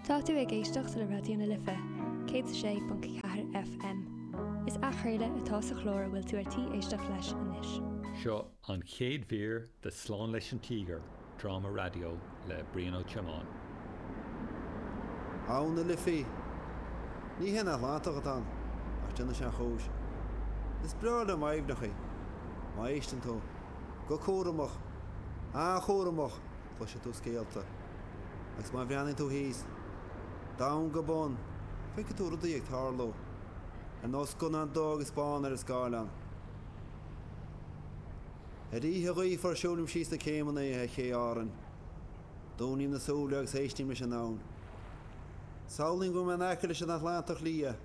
Tá tú ag éisteacht le Raidió na Life 106.4 FM. Is athchraoladh atá sa chlár a bhfuil tú ar tí éisteacht leis anois. Seo an chéad mhír de Slán leis an Tíogar, dráma raidió le Brian Ó Tiomáin. Abhainn na Life. Ní hé an Atlantach atá ann, ach déanann sé an chúis. Is breá liom aibhneacha. Má éisteann tú, go cúramach, an-chúramach, cloisfidh tú scéalta. Agus má bhreathnaíonn tú thíos, domhan go bun, feicfidh tú rudaí ag tarlú, ar nós scannán dubh agus bán ar an scáileán. Ar oíche ghaofar siúlaim síos na céimeanna ar ché Árann. Dúnaim na súile agus éistim leis an abhainn. Samhlaím go bhfuil mé in aice leis an Atlantach Liath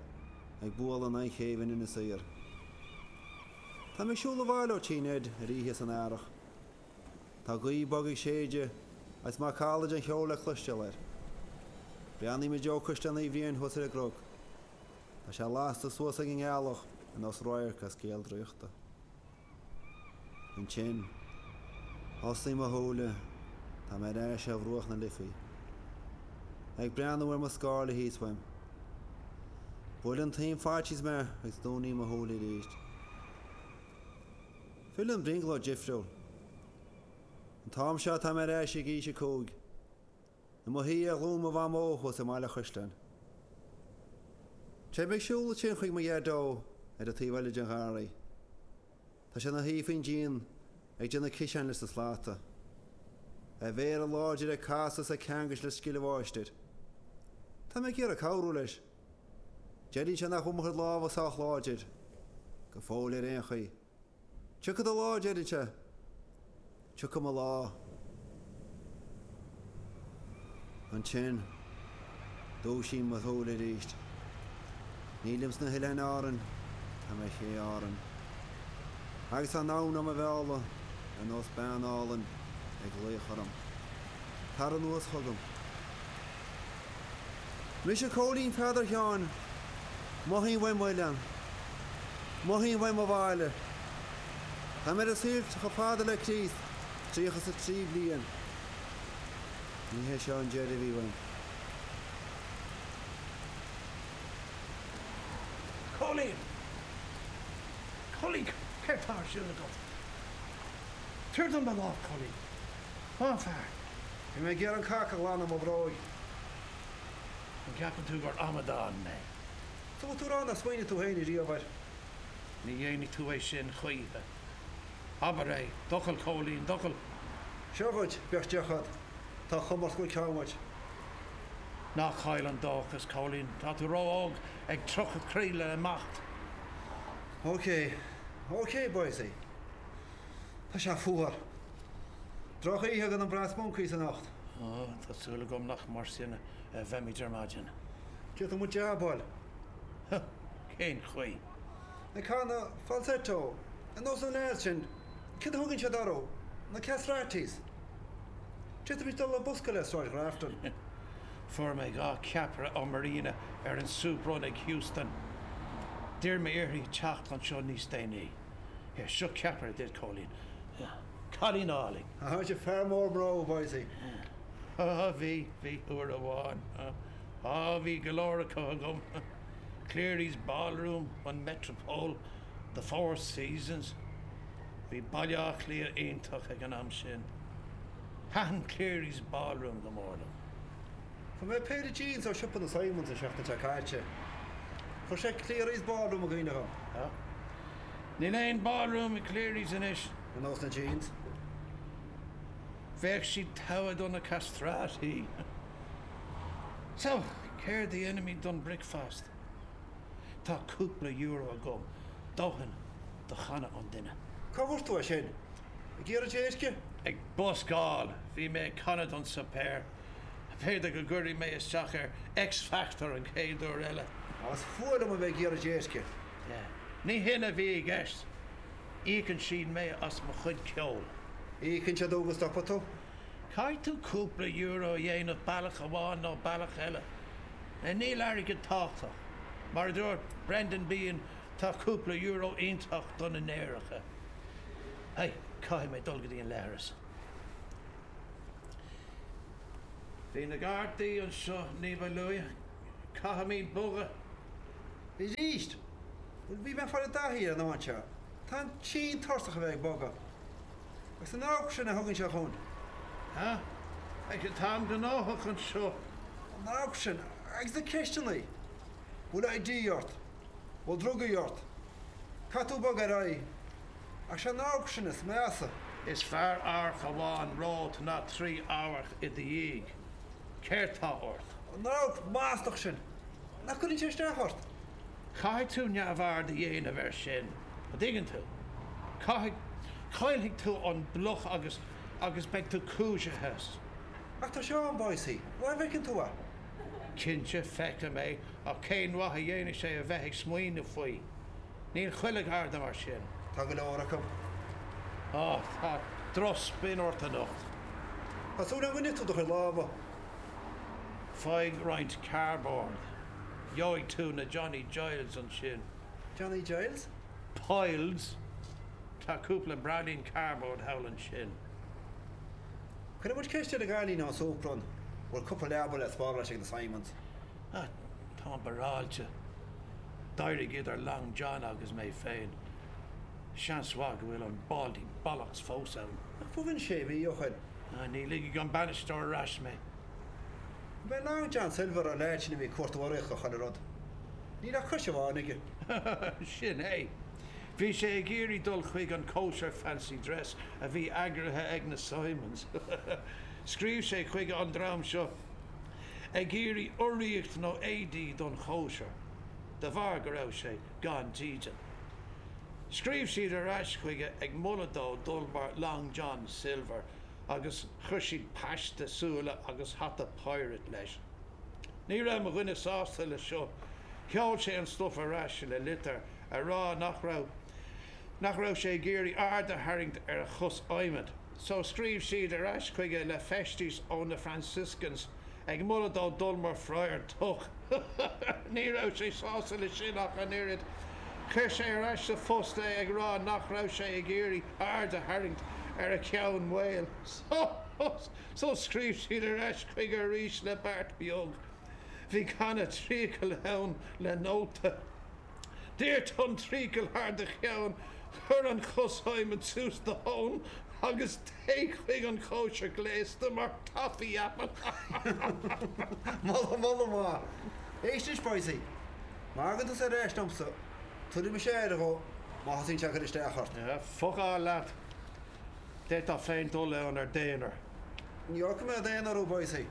ag bualadh in aghaidh chéibh in Inis Oírr. Tá mé ag siúl abhaile ó Tí Ned ar oíche san earrach. Tá gaoth bog ag séideadh agus macalla den cheol le cloisteáil air. Breathnaím i dtreo Caisleán Uí Bhriain thuas ar an gcnoc. Tá sé lasta suas ag an ngealach ar nós radharc as scéal draíochta. Ansin, osclaím mo shúile, tá mé ar ais ar bhruach na Life. Ag breathnú ar mo scáile thíos uaim. Buaileann taom faitíos mé agus dúnaim mo shúile arís. Filleann brionglóid difriúil. An t-am seo tá mé ar ais ag aois a 5. I mo shuí ar ghlúin mo mhamó thuas i mBaile Chaisleáin. Téim ag siúl ansin chuig mo dhaideo ar an taobh eile den gharraí. Tá sé ina shuí faoin díon ag déanamh ciseáin leis na slata. A mhéara láidir ag casadh is ag ceangailt le scil an mháistir. Tá mé ag iarraidh cabhrú leis. Deireann sé nach bhfuil mo chuid lámha sách láidir. Go fóill ar aon chaoi. Tiocfaidh do lá, deireann sé. Tiocfaidh mo lá. Ansin, dúisím mo shúile arís. Nílim sna hOileáin Árann, tá mé ar ché Árann. Agus tá an abhainn á mo mhealladh, ar nós bean álainn ag glaoch orm. Tar anuas chugam. Mise Cóilín Pheadair Sheáin. Mothaím uaim m'oileán. Mothaím uaim mo bhaile. Tá mé ar an saol chomh fada le Críost, 33 bliain. Ní hé seo an deireadh a bhí uaim. Cóilín! Cóilín, céard tá ar siúl agat? Tabhair dom do lámh, Cóilín. Á, a fear. Bhí mé ag iarraidh an cac a ghlanadh ó mo bhróig. An gceapann tú gur amadán mé? So bhfuil tú ag rá nár smaoinigh tú féin ariamh air? Ní dhéanfaidh tú é sin choíche. Abair é. D'fhocal, Cóilín, d'fhocal. Seo dhuit, bheadh deoch agat. Tá an chuma ort go bhfuil ceann uait. Ná caill an dóchas, Cóilín. Tá tú ró-óg ag crochadh croí le imeacht. Ok. Ok, boysie. Tá sé fuar. Droch-oíche do na Brass Monkeys anocht. Ó, tá súil agam nach mar sin a bheimid ar maidin. D'fhéadfadh muid jabáil. Huh, cén chaoi? Ag canadh falsetto, ar nós na leaids sin, céard a thugann siad orthu? Na castratis. D'fhéadfaimis dul ag buscáil ar Sráid Ghrafton. Fuair mé 2 ceapaire ó Marina ar an soup run ag Heuston. D'iarr mé uirthi teacht anseo níos déanaí. Here, seo ceapaire duit, Cóilín. Cailín álainn. Tá sé fear mór mná, Boysie. Á, bhí, bhí, uair amháin. Á, bhí go leor acu agam. Cleary's Ballroom, an Metropole, The Four Seasons. Bhí Baile Átha Cliath iontach ag an am sin. Thaitin Cleary's Ballroom go mór liom. Fuair mé péire jeans ó siopa na Simons an seachtain seo caite. Chuir sé Cleary's Ballroom i gcuimhne dhom. Á. Níl aon ballroom i Cleary's anois. Ar nós na jeans. Bheadh siad togha do na castrati. So, céard a dhéanfaimid don bricfeast? Tá cúpla euro agam, dóthain do channa an duine. Cá bhfuair tú é sin? Ag iarraidh déirce? Ag buscáil! Bhí mé ag canadh don suipéar. B'fhéidir go gcuirfidh mé isteach ar X Factor an chéad uair eile. Á, is fuath liom a bheith ag iarraidh déirce. Ní hin a bhí i gceist. Íocann siad mé as mo chuid ceoil. Íocann siad thú go stopfaidh tú? Caithfidh tú cúpla euro a dhéanamh bealach amháin nó bealach eile. Níl airgead tábhachtach. Mar a dúirt Brendan Behan, tá cúpla euro iontach do na néaracha. Hey, caithfidh mé dul go dtí an leithreas. Bhí na Gardaí anseo ní ba luaithe. Caithfimid bogadh. Arís? Bhuel, bhí mé ag fáil i dtaithí ar an áit seo. Táim tinn tuirseach a bheith ag bogadh. Agus an amharc sin a thugann sé chugainn. Ha? Ag an t-am gnóthach anseo. An amharc sin, agus na ceisteanna. Bhfuil ID ort? Bhfuil drugaí ort? Caithfidh tú bogadh ar aghaidh. Ach sé an amharc sin is measa. Is fearr amharc amháin romhat ná 3 amharc i do dhiaidh. Céard tá ort? An amharc maslach sin. Nach gcuireann sé isteach ort? Caithfidh tú neamhaird a dhéanamh air sin, an dtuigeann tú? Caithfidh, caillfidh tú an bhloc agus, agus beidh tú cúisithe as. Ach tá sé ann, Boycie, an bhfeiceann tú é? Cinnte, feicim é, ach cén mhaith a dhéanfaidh sé a bheith ag smaoineamh faoi? Níl chuile gharda mar sin. Tá go leor acu. Á, tá drochspin ort anocht. Tá súil agam gur nigh tú do chuid lámha. Faigh roinnt cardboard. Gheobhaidh tú na Johnny Giles ansin. Johnny Giles? Piles. Tá cúpla braillín cardboard thall ansin. Cuirfidh muid ceist ar an gcailín ón súplann an bhfuil cúpla leaba le spáráilt ag na Simons. Ah, táim barráilte. D'éirigh idir Long John agus mé féin. Seans mhaith go bhfuil an Baldy Bollocks fós ann. Ach b'shin sé mhí ó shin. Ah, ní ligfidh an bainisteoir ar ais mé. Ab é Long John Silver an leaid sin a bhí ag cuartú urraíochta do chuile rud? Níl ach cois amháin aige. Sin é. Bhí sé ag iarraidh dul chuig an cóisir fancy dress a bhí eagraithe ag na Simons. Scríobh sé chuig an dream seo ag iarraidh urraíocht nó éadaí don chóisir, de bharr go raibh sé gan dídean. Scríobh siad ar ais chuige ag moladh dó dul mar Long John Silver agus chuir siad paiste súile agus hata pirate leis. Ní raibh mo dhuine sásta le seo. Sheol sé an stuif ar ais le litir a rá nach raibh nach raibh sé ag iarraidh aird a tharraingt ar a chos adhmaid. So scríobh siad ar ais chuige le feistis ó na Franciscans ag moladh dó dul mar Friar Tuck. Ní raibh sé sásta le sin ach an oiread. Chuir sé ar ais sa phost é ag rá nach raibh sé ag iarraidh aird a tharraingt ar a cheann maol. So scríobh siad ar ais chuige arís le beart beag. Bhí canna tríocail ann le nóta. Doirt an trucail thar do cheann, cuir an chos adhmaid suas do thóin agus téigh chuig an chóisir gléasta mar Toffee Apple. Moladh, moladh maith. Éist anois, Boycie. Má thagann tusa ar ais liomsa, tabharfaidh mise aire dhó má thosaíonn sé ag cur isteach ort. Focáil leat. D'fhéadfá féin dul ann ar d'aonar. Ní fhágfaidh mé i d'aonar thú, Boycie.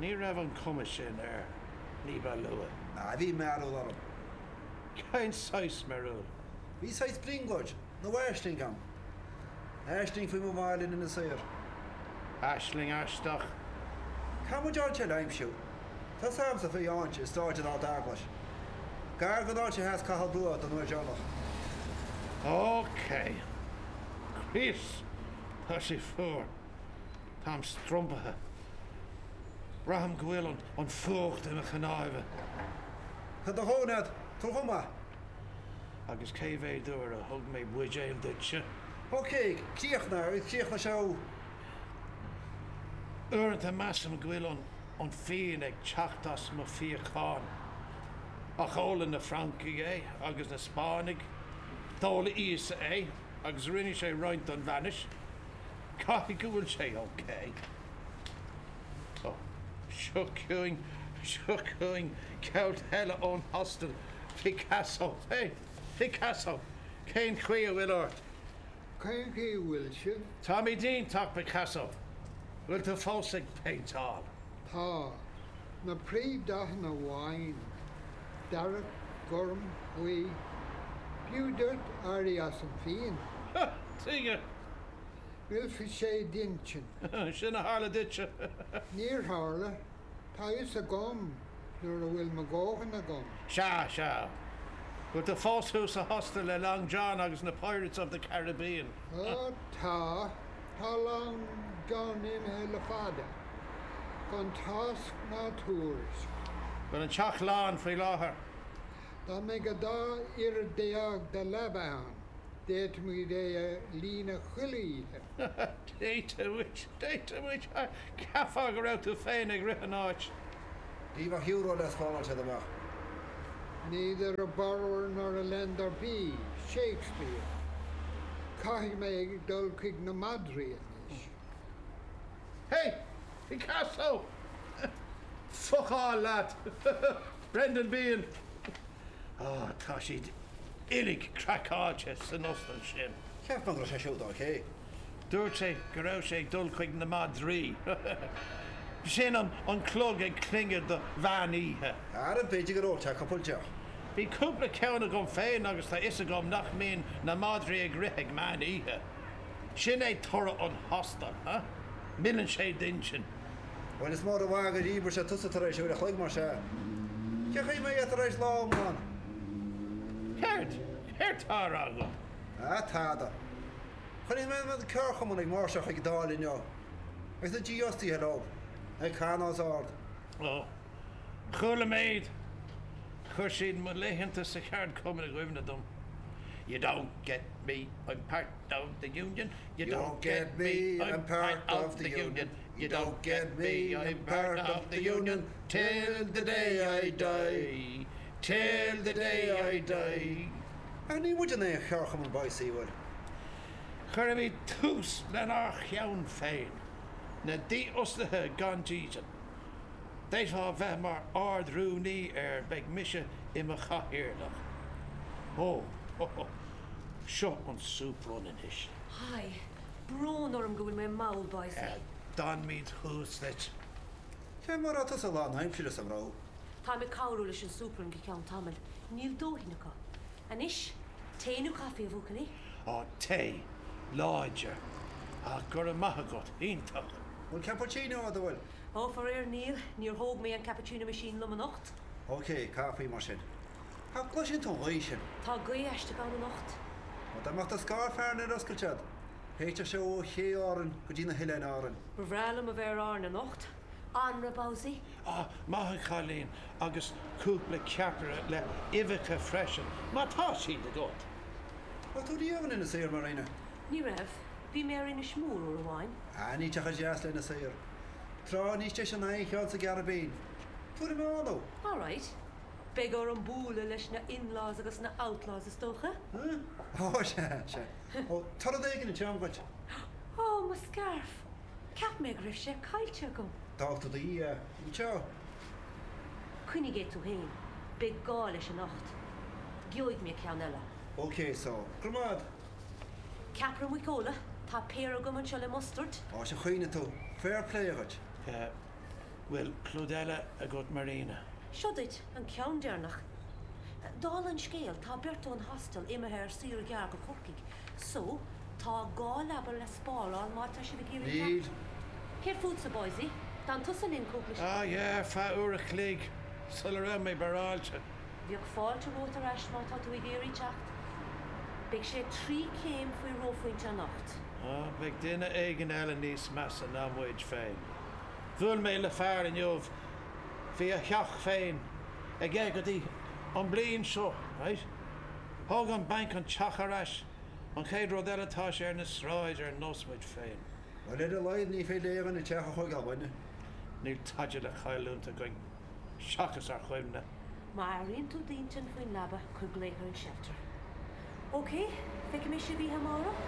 Ní raibh an chuma sin air ní ba luaithe. Ah, bhí mearbhall orm. Cén saghas mearbhaill? Bhí saghas brionglóid, nó aisling agam. Aisling faoi mo bhaile in Inis Oírr. Aisling aisteach. Caithfidh muid áit eile a aimsiú. Tá's agamsa faoi áit i Stáid an Ard-Eaglais. Gar don áit a sheas Cathal Brugha don uair deireanach. Ok. Chríost, tá sé fuar. Táim strompaithe. Braithim go bhfuil an fuacht i mo chnámha. Tá do dhóthain agat. Tabhair dhom é. Agus cé mhéad uair a thug mé buidéal duitse? Ok, críochnaigh agus críochnaigh sé thú. Uaireanta measaim go bhfuil an an fíon ag teacht as mo fíochán. Ach ólann na Francaigh é agus na Spáinnigh. D'ól Íosa é agus rinne sé roinnt don bhainis. Caithfidh go bhfuil sé ok. Ó, seo chugainn, seo chugainn gealt eile ón hostel, Picasso. Hey, Picasso, cén chaoi a bhfuil ort? Cén chaoi a bhfuil sibh? Táimid iontach, Picasso. Bhfuil tú fós ag péinteáil? Tá. Na príomhdhathanna amháin. Dearg, gorm, buí. B'fhiú duit éirí as an fíon. Ha! Tuige? Mhillfeadh sé d'intinn. Sin a tharla duitse. Níor tharla. Tá a fhios agam nuair a bhfuil mo dhóthain agam. Sea, sea. Bhfuil tú fós thuas sa hostel le Long John agus na Pirates of the Caribbean? Ó, tá. Tá Long John imithe le fada. Gan tásc ná tuairisc. Bhfuil an teach lán faoi láthair? Dá mbeadh a dá oiread déag de leaba ann. D'fhéadfaimid é a líonadh chuile oíche. D'fhéadfaimis, d'fhéadfaimis. Cheapfá go raibh tú féin ag rith an áit. Ní bheadh euro le spáráil siad amach. Neither a borrower nor a lender be, Shakespeare. Caithfidh mé dul chuig na madraí anois. Hey! Picasso! Focáil leat! Brendan Behan! Á, tá siad uilig craiceáilte san ostan sin. Cheap mé go raibh sé siúd ok. Dúirt sé go raibh sé ag dul chuig na madraí. B'shin an clog ag clingeadh do mheán oíche. Ara, b'fhéidir gur ól sé cúpla deoch. Bhí cúpla ceann agam féin agus tá fhios agam nach mbíonn na madraí ag rith ag meán oíche. Sin é toradh an hostel, huh? Milleann sé d'intinn. Bhuel, is mór an mhaith gur dhíbir sé tusa tar éis uair a chloig, mar sea. Cén chaoi a mbeidh tar éis lá iomlán? Céard? Céard tá á rá agat? Ah, tada. Chonaic mé na ceardchumainn ag máirseáil chuig an Dáil inniu, agus na dífhostaithe leo, ag canadh os ard. Ó, chuala mé iad. Chuir siad mo laethanta sa cheardchumann i gcuimhne dom. You don't get me, I'm part of the union, you don't get me, I'm part of the union, you don't get me, I'm part of the union, till the day I die, till the day I die. Ach ní muid an aon cheardchumann Boycie, bhfuil? Cuirfimid tús lenár cheann féin, na dífhostaithe gan dídean. D'fhéadfá bheith mar Ard-Rúnaí air, beidh mise i mo chathaoirleach. Ó, hó, seo an soup run anois. Hi, brón orm go bhfuil mé mall, Boycie. D'fhanfaimid thuas duit. Cé mar atá tusa lán aimsire sa bhró? Táim ag cabhrú leis an soup run go ceann tamaill. Níl dóthain acu. Anois, tae nó caife, a bhuachaillí? Á, tae. Láidir. Ach go raibh maith agat. Iontach. Bhfuil cappuccino agat, an bhfuil? Ó, faraor, níl. Níor thóg mé an cappuccino machine liom anocht. Ok, caife mar sin. An gcloiseann tú an ghaoth sin? Tá gaoth aisteach ann anocht. Ó, dá mbeadh do scáth fearthainne ar oscailt agat, théiteadh sé ó Ché Árann go dtí na hOileáin Árann. Ba bhreá liom a bheith ar Árainn anocht. Anraith, Bowsie? Á, maith an chailín, agus cúpla ceapaire le huibheacha freisin, má tá siad agat. Raibh tú riamh in Inis Oírr, Marina? Ní raibh. Bhí mé ar Inis Mór uair amháin. Ah, ní teach deas le Inis Oírr. Trá níos deise ná aon cheann sa gCaribbean. Tabharfaidh mé ann thú. All right. Beidh orm bualadh leis na in-laws agus na outlaws is dócha. Huh? Ó, sea, sea. Ó, tá rud éigin anseo dhuit. Ó, mo scairf! Cheap mé go raibh sé caillte agam. D'fhág tú do dhiaidh é. Anseo. Coinnigh é tú féin. Beidh gá leis anocht. Gheobhaidh mé ceann eile. Ok, so. Go raibh maith agat. Ceapaire muiceola, tá péire agam anseo le mustard. Ó, sea, chuimhnigh tú. Fair play dhuit. Bhfuil pluid eile agat Marina? Seo duit, an ceann deireanach. Dála an scéil, tá beirt ón hostel imithe ar saoire ghearr go Corcaigh. So, tá 2 leaba le spáráil má tá sibh ag iarraidh Níl. teacht. Céard fútsa, Boysie? D'fhan tusa linn cúpla. Ah yeah, ar feadh uair a chloig, sula raibh mé barráilte. Bheadh fáilte romhat ar ais má tá tú ag iarraidh teacht. Beidh sé 3 céim faoi reophointe anocht. Ah, beidh duine éigin eile níos measa ná muid féin. Bhuail mé le fear inniu, bhí a theach féin aige go dtí an bliain seo, right? Thóg an banc an teach ar ais, an chéad rud eile tá sé ar na sráid ar nós muid féin. Bhuel ar a laghad ní féidir le aon dhuine teach a thógáil uainne. Níl tada le cailliúint againn seachas ár chuimhne. Má airíonn tú d'intinn faoin leaba, cuir glaoch ar an shelter. Ok, feicfidh mé sibh oíche amárach.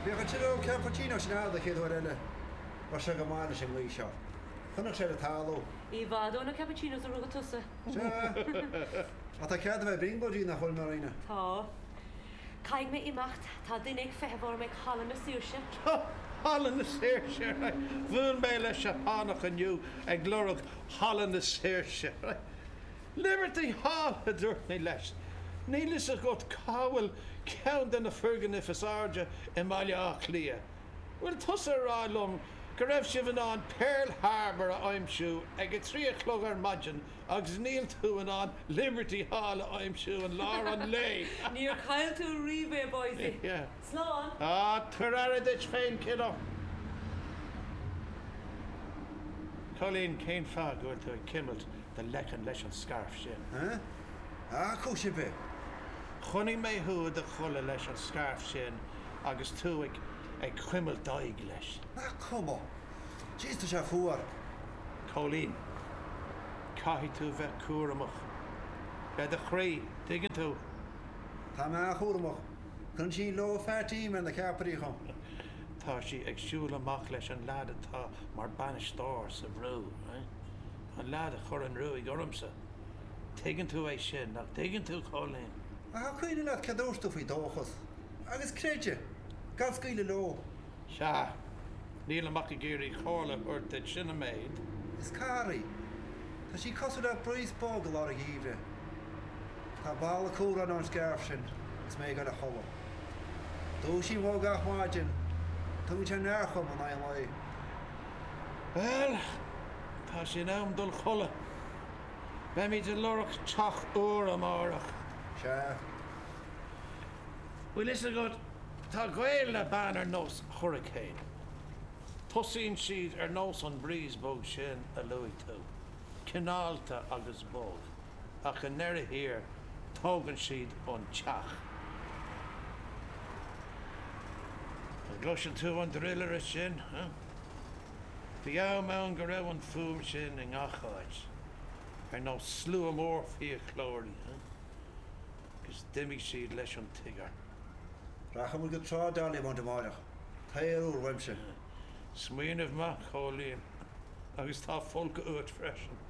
Bheadh an tuilleadh cappuccino sin agat an chéad uair eile. Bheadh sé go maith leis an ngaoth seo. Choinnigh sé le talamh. I bhfad ó na cappuccinos a rugadh tusa. Sea. Ach tá cead a bheith ag brionglóidí, nach bhfuil, Marina? Tá. Caithfidh mé imeacht, tá duine ag feitheamh orm ag Halla na Saoirse. Halla na Saoirse! Bhuail mé le Seapánach inniu ag lorg Halla na Saoirse. Liberty Hall, a dúirt mé leis. Níl fhios agat cá bhfuil ceann de na foirgnimh is airde i mBaile Átha Cliath. Bhfuil tusa ag rá liom go raibh sibh in ann Pearl Harbor a aimsiú ag a 3 a chlog ar maidin agus níl tú in ann Liberty Hall a aimsiú i lár an lae? Níor chaill tú riamh é, Boysie. Slán! Ah, tabhair aire duit féin, kiddo. Colleen, cén fáth go bhfuil tú ag cuimilt do leiceann leis an scairf sin? Huh? Ah, cúis ar bith. Chonaic mé thú i do chodladh leis an scairf sin agus tú ag ag cuimilt d'aghaidh leis. Nach cuma? Jeez, tá sé fuar. Cóilín, Caithfidh tú bheith cúramach. Le do chroí, tuigeann tú? Tá mé an-chúramach. Cuireann sí low fat-im ar na ceapairí dhom. Tá sí ag siúl amach leis an leaid atá mar bainisteoir sa bhrú, eh? An leaid a chuir an ruaig ormsa. Tuigeann tú é sin, nach dtuigeann tú, Cóilín? Ach an cuimhin leat céard a dúirt tú faoi dóchas? Agus creideamh? Gan scaoileadh leo. Sea. Nílim ach ag iarraidh comhairle a thabhairt duit, sin an méid. Is cathair í. Tá sí cosúil le breeze bog i lár an gheimhridh. Tá boladh cumhráin ón scairf sin agus mé ag dul a chodladh. Dúisím dhó gach maidin. Tugann sé neart dhom in aghaidh an lae. Bhuel, tá sé in am dul a chodladh. Beimid ag lorg teach úr amárach. Sea. Bhfuil fhios agat, tá gaol le bean ar nós hurricane. Tosaíonn siad ar nós an breeze bog sin a luaigh tú, cineálta agus bog, ach i ndeireadh thiar, tógann siad an teach. An gcloiseann tú an druilire sin? Huh? Bhí am ann go raibh an fuaim sin i ngach áit, ar nós slua mór fiaclóirí, huh? Agus d'imigh siad leis an tíogar. Rachaidh muid go Trá Dollymount amárach. T-aer úr uaimse. Smaoineamh maith, Cóilín. Agus tá folcadh uait freisin.